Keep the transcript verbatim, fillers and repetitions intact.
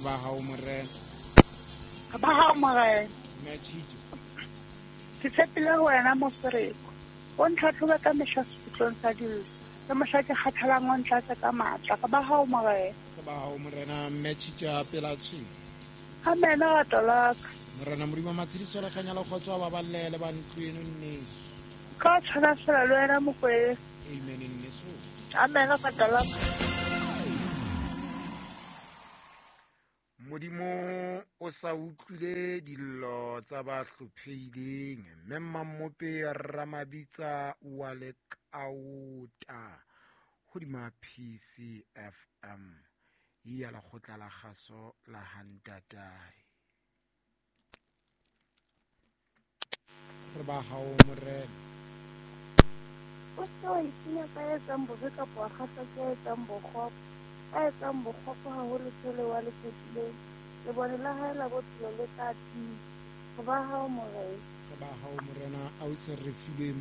ba hao Morena. Re ba hao Morena. Mme Tshitso. Ke tshepile ho wena Mofereko. O ntlhatlhobe ka mehla sekgutlong sa dillo. Le mohla ke kgathalang o ntlatse ka matla. Re ba hao Morena. Re ba hao Morena. Mme Tshitso pela tshwene. Amen rato la ka. Morena Modimo matshediso le kganya le kgotso a baballe le ba ntlo eno nneso. Ka tshwana fela le wena Mokwele. Amen nneso. Amen rato la ka. Modimo o sa utlwile dillo tsa ba hlophehileng mme Mmamope Ramabitsa wa Lekaota hodima P C F M ya lekgotla la kgaso la Hantatae. Re ba hao Morena. O se wa itsenya ka ya etsang bobe kapa wa kgahlwa ke ya etsang bokgopo. Ya etsang bokgopo haholo tsele wa le fetileng. Lebone la hae la bophelo le tla tima. Re ba hao Morena. Re ba hao Morena. A o se re filwe